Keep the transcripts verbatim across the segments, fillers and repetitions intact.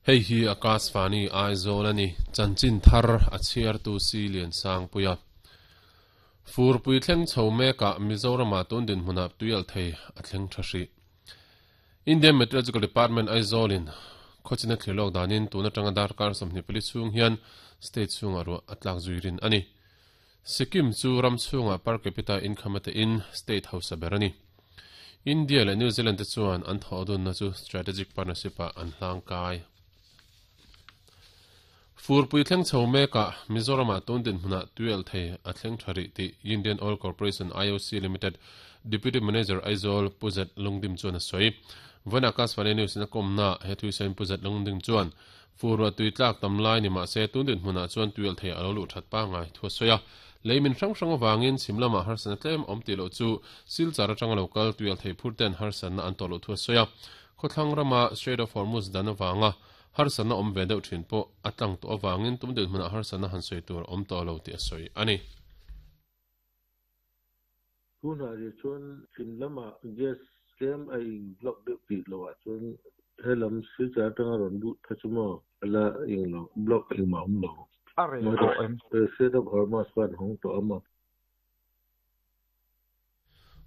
Hei hi Akashvani Aizawl ani chanchin thar a chhiar tu si lian sang puia furpui thleng chho meka Mizorama tun din hmuna tuial thei a thleng tha hri Indian Meteorological Department Aizawlin khochina thlilok danin tuna tanga darkar sawmhnih pali chung hian state chunga ro atlak zuirin ani Sikkim chu ram chunga per capita income ate in state house berani India le New Zealand te chuan an thodun na chu strategic partnership a an hlang kai furpui thleng chho meka Mizorama tun din hmuna tuel thei a thleng thari ti Indian Oil Corporation I O C Limited Deputy Manager Aizawl Puzat Lungdim chuan a sawi vana Akashvani News na komna he thui sain Puzat Lungdim chuan furwa tui tlak tam lai ni ma se tun din hmuna chuan tuel thei alo lu that pa ngai thu soya leimin hrang hrang awangin chimlama harsana tlem om ti lo chu silchar atanga local tuel thei phurten harsana an to lo thu soya khothlang rama Strait of Hormuz dan awanga harsana om ve deuh thin po atlang to awangin tum din hmuna harsana han soi tur om to lo ti a soi ani tuna ri chuan chimlama gas tlem a in block deuh ti lo ah chuan helam silchar atanga rawn duh tha chu maw ala eng lo block engmah awm lo a rei pawh em Strait of Hormuz khan hawng tawh ama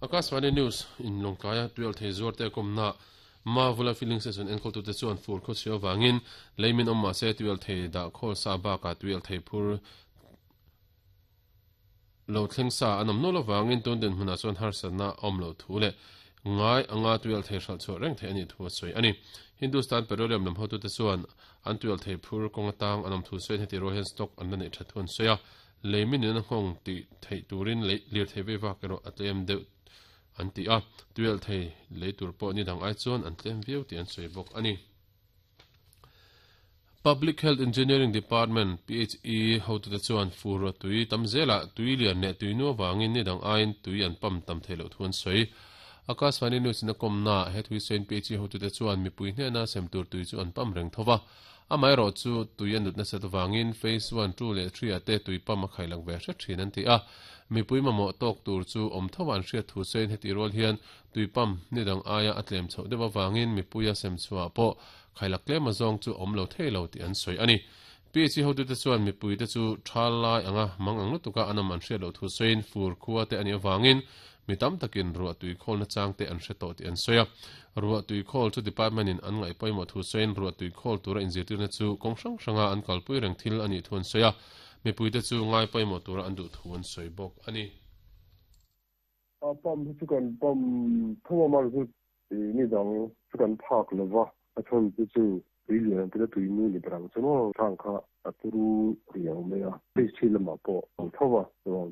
Akashvani News in longkaia tuel thei zuar te komna ma vula filling station enkol tu te chuan fur kho chio wangin leimin om ma se tuel thei da khol sa ba ka tuel thei phur lo thleng sa anam no lo wangin tun den hmuna chuan harsana om lo thu le ngai anga tuel thei hral chu reng thei ani thu soi ani Hindustan Petroleum lam hotu te chuan an tuel thei phur kong tang anam thu soi heti rohen stock an nei tha thun soya leimin in hong ti thei turin le lir thei ve wa kero atlem deuh an ti a tuel thei leitur pawh ni dang ai chuan an tlem viau ti an sawi bawk ani Public Health Engineering Department P H E hotu te chuan fur tui tamzela tui lian ne tui nu wangin ni dang ain tui an pam tam thei lo thuan sawi Akashvani News na komna he thui sain P H E hotu te chuan mipui hne na sem tur tui chu an pam reng thowa amai ro chu tui an nut na set wangin phase one two le three ate tui pam a khailang ve hre thin an ti a mipui mamo tok tur chu om thowan hriat thu sein heti rol hian tuipam ni dang aia atlem chho dewa wangin mipuia sem chua po khailak tlem azong chu om lo thei lo ti an soi ani P H E hotu te chuan mipui te chu thal lai anga mang ang lutuka anam an hriat lo thu sein fur khuwa te ani awangin mitam takin ruah tui khol na chang te an hre tawh ti an sawi a ruah tui khol chu department in an ngaih pawimawh thu sawiin ruah tui khol tura inzirtir na chu kawng hrang hranga an kalpui reng thil ani thu an sawi a mipui te chu ngai pawimawh tura an duh thu an sawi bawk ani a pam chu kan pam thoma mar chu ni dang chu kan phak lova a chon chu chu tui lian te tui nu ni brang chu mo thang kha aturu riang me a pe chi lama po ang thowa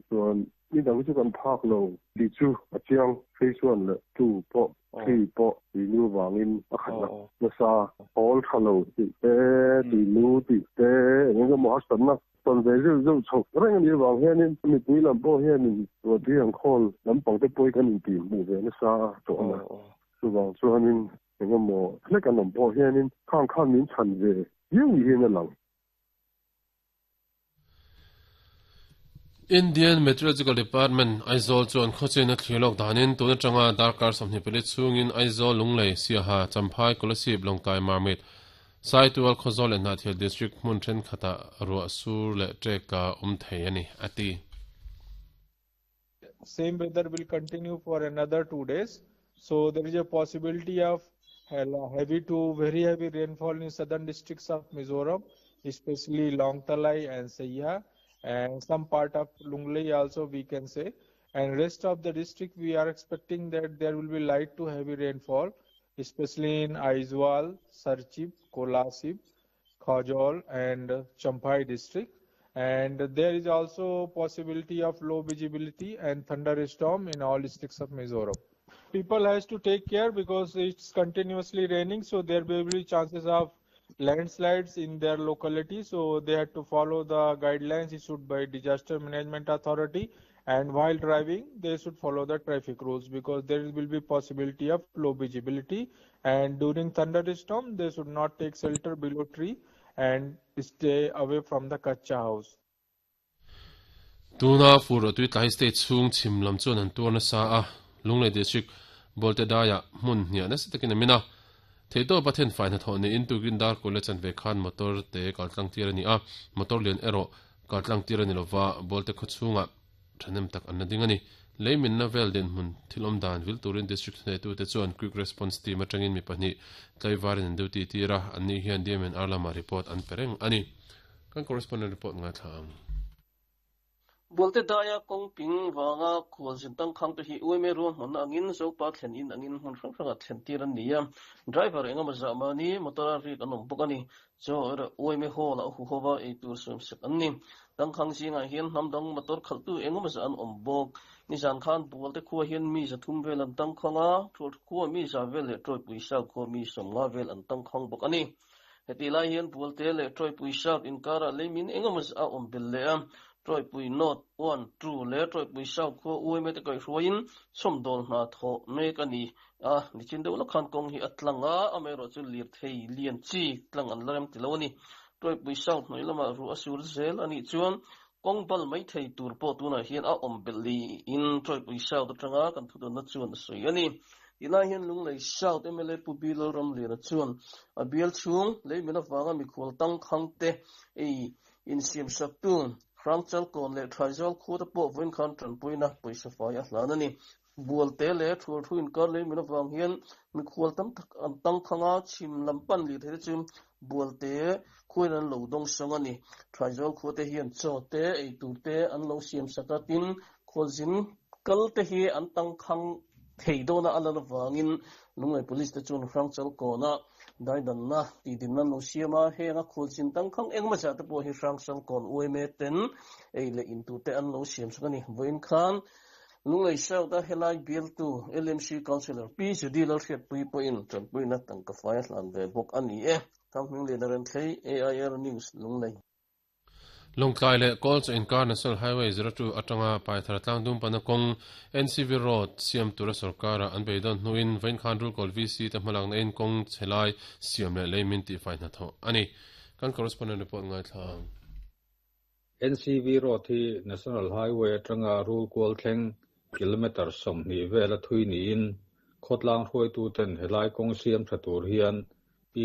chuan ni dang chu kan phak lo di chu a chiang phase one le two po three po ti nu wangin a khat na na sa all thalo ti te ti nu ti te eng mo ha na ton ve zu zu chok reng ni wang hian in mi pui lam po hian in ro ti ang khol lam pang te poi kan in ti mu ve na sa to na chu wang chuan in eng mo hlek an om po hian in khang khan min chan ve yu hi na lang Indian Meteorological Department Aizawl chuan khawchena thlilok danin tuna tanga darkar sawmhnih pali chungin Aizawl Lunglei Siaha Champhai Kolasib Longtai Marmit Saitual Khawzawl leh Hnahthial District hmun thenkhatah ruah sur leh ṭek awm thei ani ati Same weather will continue for another two days, so there is a possibility of heavy to very heavy rainfall in southern districts of Mizoram, especially Longtalai and Saiha, and some part of Lunglei also we can say, and rest of the district we are expecting that there will be light to heavy rainfall, especially in Aizawl, Serchhip, Kolasib, Khawzawl and Champhai district. And there is also possibility of low visibility and thunderstorm in all districts of Mizoram. People has to take care because it's continuously raining, so there will be chances of landslides in their locality, so they had to follow the guidelines issued by Disaster Management Authority, and while driving they should follow the traffic rules because there will be possibility of low visibility, and during thunderstorm they should not take shelter below tree and stay away from the kacha house. Tuna fur tui tlai state chung chim lam chuan an tur na sa a Lunglei district bolte daya mun hnia na sitakin amina Theito pathen fai na thawh ni in tukin dar kule chan ve khan motor te kaltlang tir ani a motor lian ero kaltlang tir ani lova bolte khuchunga thanem tak an ding ani leimin na vel den mun thilom dan vil turin district ne tu te chuan quick response team atangin mi pahnih tlaivarin an duty tira anni hian D M N R lama report an pereng ani kan correspondent report nga thang Bolte daya kong ping wanga khol jintang khang te hi uime ro hon angin zo pa thlen in angin hon hrang hranga thlen tir an nia driver enga ma zamani motor ri anom bokani zo er uime ho la hu howa e tur sum sek anni tang khang singa hian hnamdang motor khaltu enga ma an om bok ni zan khan bolte khuwa hian mi za thum vel an tang khanga thul khuwa mi za vel le troi puisa kho mi somnga vel an tang khang bok ani heti lai hian bolte le troi puisa inkara leimin enga ma a om bel le a troi pui not one two le troi pui sau kho ui me te kai hruain som dol na tho me ka ni a ni chin deuh khan kong hi atlanga amero chu lir thei lian chi tlang an larem ti lo ni troi pui sau hnoi lama ru asur zel ani chuan kong bal mai thei tur po tuna hian a om beli in troi pui sau ta tanga kan thu don na chuan soi ani ila hian lunglei south M L A pu bil ram lera chuan a bial chung leimina wanga mi khol tang khang te ei in siam sak tu Rangchal kon le thaizol khu ta po voin khan tran puina poisa fai a hlan ani bual te le thul thu in kar le mina wang hian mi khol tam tak an tang khanga chim lampan li the chu bual te khuin an lo dong song ani thaizol khu te hian chaw te ei tur te an lo siam sakatin kholzin kal te hi an tang khang theidona alan wangin lunglei police te chun Rangchal kona daidan na ti din na no siama henga kholzin tang khang engma cha te po hi Rangchal kon uime ten ei le in tu te an lo siam sakani voin khan lunglei south a helai bill tu L M C councilor P Judy lal hriat pui po in tran pui na tang ka fai hlan ve bok ani e thang le na ren thei A I R News lunglei Longtlai le Kolch Inkar National Highway zero two atanga Paithar tlangdum panakong N C V Road siam tura sarkara an beidon hnuin vein khan rul kol V C te hmalang na in kong chelai siam le leimin ti fai na tho ani kan correspondent report ngai thlang N C V Road hi National Highway atanga rul kol thleng kilometer som ni vela thui ni in khotlang hruai tu ten helai kong siam thatur hian P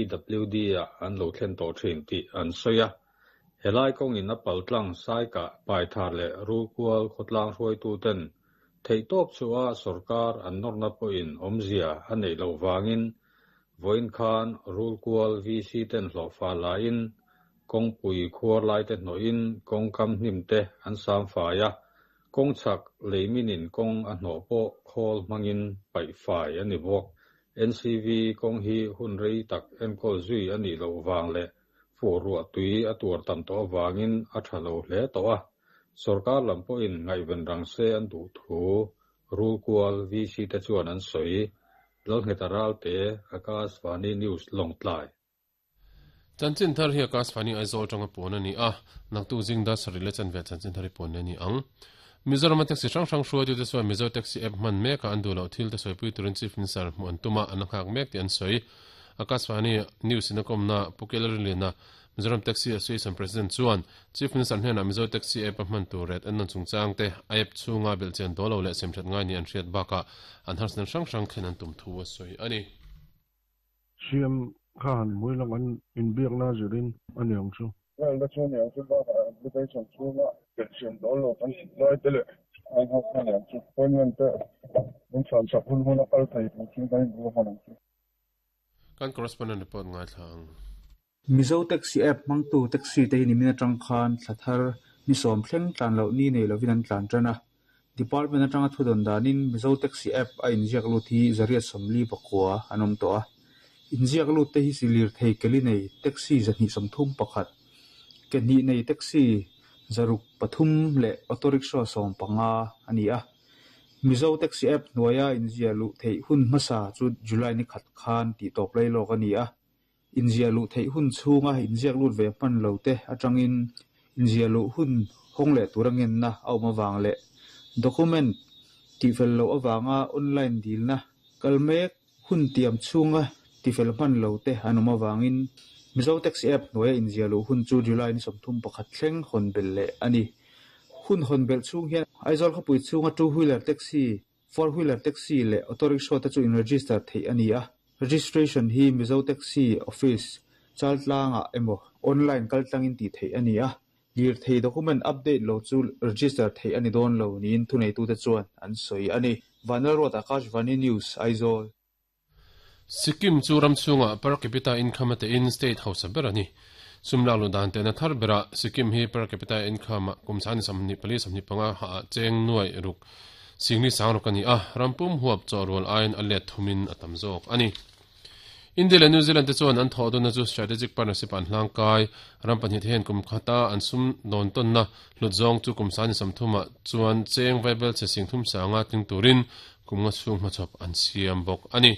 W D a an lo thlen to thin ti an soya helai kong in a paltlang sai ka paithar le rukual khotlang hruai tu ten theitop chuwa sarkar an norna po in omzia anei lo wangin voin khan rulkual V C ten hlofa la in kong pui khuar lai te no in kong kam hnim te an sam fa ya kong chak leiminin kong a hno po khol mangin pai fai ani bok N C V kong hi hun rei tak enkol zui ani lo wang le fu ruwa tui a tur tam to wangin a thalo hle to a sarkar lampo in ngaiven rang se an du thu rulkual V C te chuan an soi lalngetaral te Akashvani News Longtlai chanchin thar hi Akashvani Aizawl tanga pon ani a naktu jingda sarile chan ve chanchin thari pon ani ang Mizoram taxi hrang hrang hruai tu te chuan Mizo taxi app man mek a an du lo thil te sawipui turin chief minister hmu an tuma an nghak mek ti an sawi Akashvani News in a na Pukelar lena Mizoram Taxi Association President chuan Chief Minister hnena Mizo Taxi app man tu ret an nan chungchang te app chunga belchen dolo le semthat ngai ni an hriat baka an harsna hrang hrang khen an tum thu a sawi ani Siam khan muilang an inbiak na zirin aniang chu well da chuan yang chu ba application chunga belchen dolo kan lai te le ai ha khan yang chu appointment te mun san sak hun hun a kal thei chu kan bu han chu kan correspondent report ngai thlang Mizo taxi app mangtu taxi te ni mina tang khan thlathar ni som thleng tlan lo ni nei lovin an tlan tana department atanga thudon danin Mizo taxi app a inziak lu thi zaria somli pakwa anom to a inziak lu te hi silir thei keli nei taxi zani somthum pakhat ke ni nei taxi zaruk pathum le auto rickshaw som panga ani a Mizo taxi app noya inzia lu thei hun masa chu July ni khat khan ti top lai lo ani a inzia lu thei hun chunga inziak lut ve pan lo te atangin inzia lu hun hong le turangen na auma wang le document ti fel lo awanga online deal na kalmek hun tiam chunga ti fel pan lo te anuma wangin Mizo taxi app noya inzia lu hun chu July ni somthum pakhat thleng hon bel le ani hun hon bel chung hian Aizawl khawpui chunga two wheeler taxi four wheeler taxi le auto rickshaw te chu in register thei ani a Registration hi Mizo Taxi Office chaltlanga emaw online kaltlangin tih theih a ni a. Lir thei document update lo chu register thei ani dawn lo niin thunei tu te chuan an sawi ani. Vanal Road Akashvani News Aizawl. Sikkim chu ramchhunga per capita income ate in state house ber ani. Sumla lu dan te na thar bera Sikkim hi per capita income kum san samni pali samni panga ha cheng nuai ruk singni sang ruk ani a rampum huap chawrol ain alet thumin atam zawk ani. India le New Zealand te chuan an thaw na chu strategic partnership an hlang kai ram pahnih hen kum khata an sum don ton na hlutzawng chu kum san samthuma chuan cheng vaibel che sing thum sanga ting turin kum nga chung hmachhawp an siam bawk ani.